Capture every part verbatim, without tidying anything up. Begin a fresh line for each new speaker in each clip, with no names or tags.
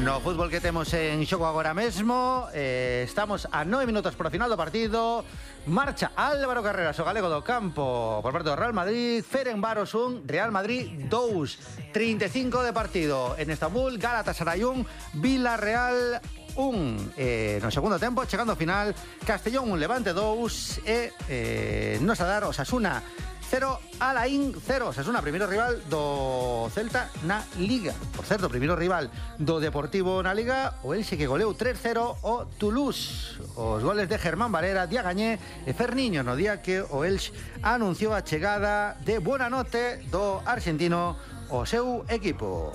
No fútbol que temos en xogo agora mesmo, eh, estamos a nove minutos por final do partido. Marcha Álvaro Carreras, o galego do campo por parte do Real Madrid. Ferencváros un, Real Madrid dous. trinta e cinco de partido en Estambul. Galatasaray un, Villarreal un. Eh, no segundo tempo, chegando ao final, Castellón un, Levante dous e eh, nos a dar Osasuna cero, Alain cero. Osasuna, primeiro rival do Celta na Liga. Por certo, primeiro rival do Deportivo na Liga, o Elxe que goleou tres cero o Toulouse. Os goles de Germán Valera, Diagañé e Ferniño no día que o Elxe anunciou a chegada de Buenanote do argentino ao seu equipo.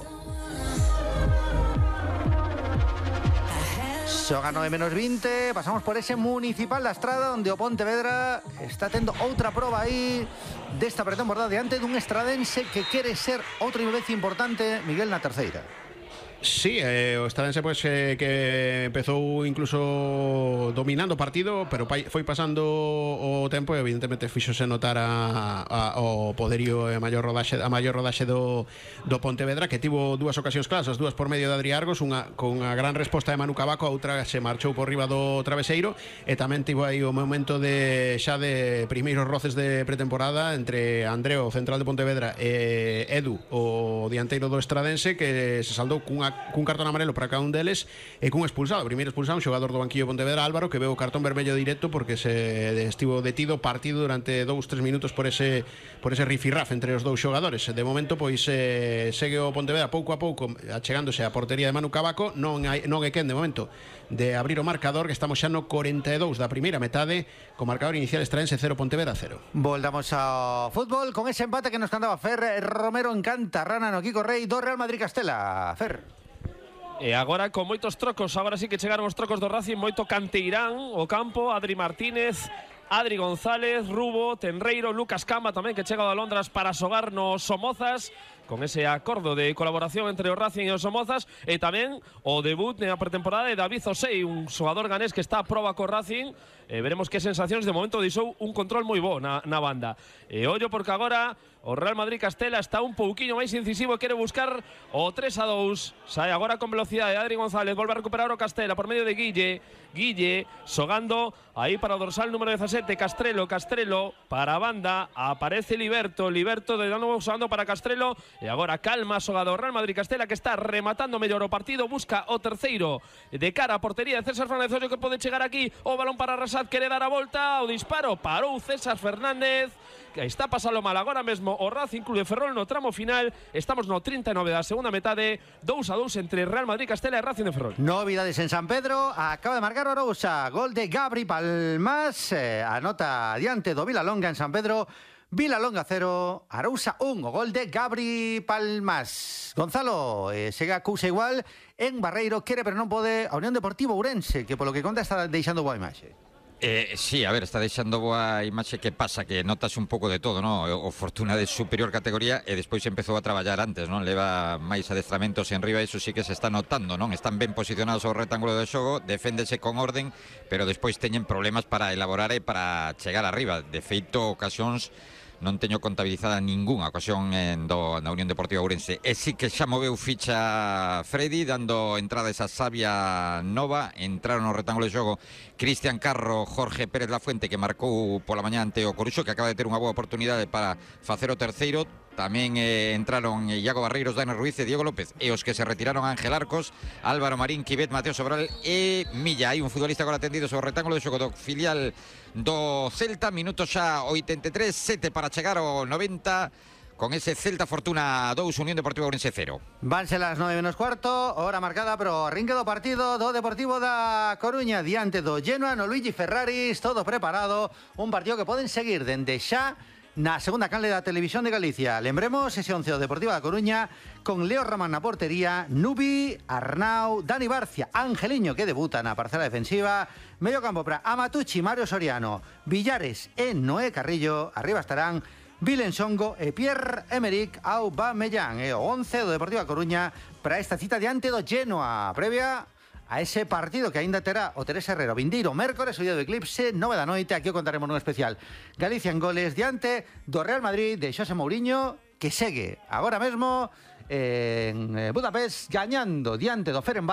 Xoga nove menos vinte, pasamos por ese Municipal da Estrada onde o Pontevedra está tendo outra proba aí desta pretemporada diante dun estradense que quere ser outro vez importante, Miguel, na terceira.
Sí, eh, o Estradense pues, eh, que empezou incluso dominando o partido, pero foi pasando o tempo e evidentemente fixose notar a, a, o poderío e a maior rodaxe, a maior rodaxe do, do Pontevedra, que tivo dúas ocasións claras, as dúas por medio de Adri Argos, unha con a gran resposta de Manu Cavaco, a outra se marchou por riba do traveseiro, e tamén tivo aí o momento de xa de primeiros roces de pretemporada entre Andreo, o central de Pontevedra, e Edu, o dianteiro do Estradense, que se saldou cunha cun cartón amarelo para cada un deles e cun expulsado. O primeiro expulsado, un xogador do banquillo de Pontevedra, Álvaro, que veu o cartón vermello directo porque se estivo detido partido durante dous tres minutos por ese por ese rifirraf entre os dous xogadores. De momento, pois eh, segue o Pontevedra pouco a pouco achegándose á portería de Manu Cavaco. Non hai, non é quen de momento de abrir o marcador, que estamos xa no corenta e dous da primeira metade, co marcador inicial Estradense cero, Pontevedra cero.
Voltamos ao fútbol con ese empate que nos cantaba Fer Romero en Cantarrana no Kiko Rei do Real Madrid Castela. Fer.
E agora con moitos trocos, agora sí que chegaron os trocos do Racing, moito Canteirán, o campo, Adri Martínez, Adri González, Rubo, Tenreiro, Lucas Camba tamén, que chega de Londras para xogar nos Somozas, con ese acordo de colaboración entre o Racing e os Somozas, e tamén o debut na pretemporada de David Osei, un xogador ganés que está a proba co Racing. E veremos que sensacións. De momento deixou un control moi bo na, na banda. E ollo porque agora o Real Madrid Castela está un pouquiño máis incisivo e quere buscar o tres a dous. Sai agora con velocidade Adri González, volve a recuperar o Castela por medio de Guille. Guille xogando aí para o dorsal número dezasete, Castrelo, Castrelo para a banda, aparece Liberto, Liberto de novo xogando para Castrelo. E agora calma xogado o Real Madrid Castela, que está rematando mellor o partido, busca o terceiro de cara a portería de César Fernández. Ollo que pode chegar aquí, o balón para Rasat, quere dar a volta, o disparo, parou César Fernández, que está pasando mal agora mesmo o Racing Club de Ferrol no tramo final. Estamos no trinta e nove da segunda metade, dous a dous entre Real Madrid Castela e Racing de Ferrol.
Novidades en San Pedro, acaba de marcar Orousa, gol de Gabri Palmas, eh, anota diante do Vilalonga en San Pedro. Vilalonga cero, Arousa un, o gol de Gabri Palmas. Gonzalo, eh, segue a cousa igual en Barreiro, quere pero non pode a Unión Deportivo Ourense, que polo que conta está deixando boa imaxe.
Eh, sí, a ver, está deixando boa imaxe. Que pasa? Que notas un pouco de todo, ¿no? O Fortuna de superior categoría e despois empezou a traballar antes, ¿no? Leva máis adestramentos en riba, iso sí que se está notando, ¿non? Están ben posicionados ao rectángulo de xogo, deféndese con orden, pero despois teñen problemas para elaborar e para chegar arriba. De feito, ocasións non teño contabilizada ningunha ocasión en do, na Unión Deportiva Ourense. E sí que xa moveu ficha Freddy, dando entrada esa sabia nova. Entraron no rectángulo de xogo Cristian Carro, Jorge Pérez Lafuente, que marcou pola mañá ante o Coruxo, que acaba de ter unha boa oportunidade para facer o terceiro. Tamén eh, entraron Iago Barreiros, Dani Ruiz e Diego López. E os que se retiraron, Ángel Arcos, Álvaro Marín, Quivet, Mateo Sobral e Milla. Hai un futbolista agora atendido sobre o rectángulo de xogo do filial do Celta. Minuto xa oitenta e tres, sete para chegar ao noventa, con ese Celta Fortuna dous, Unión Deportiva Ourense cero.
Vanse las nove menos cuarto, hora marcada pero arrinque do partido do Deportivo da Coruña diante do Genoa no Luigi Ferraris, todo preparado, un partido que poden seguir dende xa na segunda canle da Televisión de Galicia. Lembremos ese once do Deportivo da Coruña con Leo Ramán na portería, Nubi, Arnau, Dani Barcia, Angeliño, que debuta na parcela defensiva, medio campo para Amatucci, Mario Soriano, Villares e Noé Carrillo. Arriba estarán Vilen Songo e Pierre-Emerick Aubameyang. E o once do Deportivo da Coruña para esta cita diante do Genoa, previa a ese partido que aínda terá o Teresa Herrero vindeiro mércores, o día do eclipse, nove da noite. Aquí o contaremos nun especial Galicia en goles diante do Real Madrid de Xosé Mourinho, que segue agora mesmo en Budapest gañando diante do Ferencváros.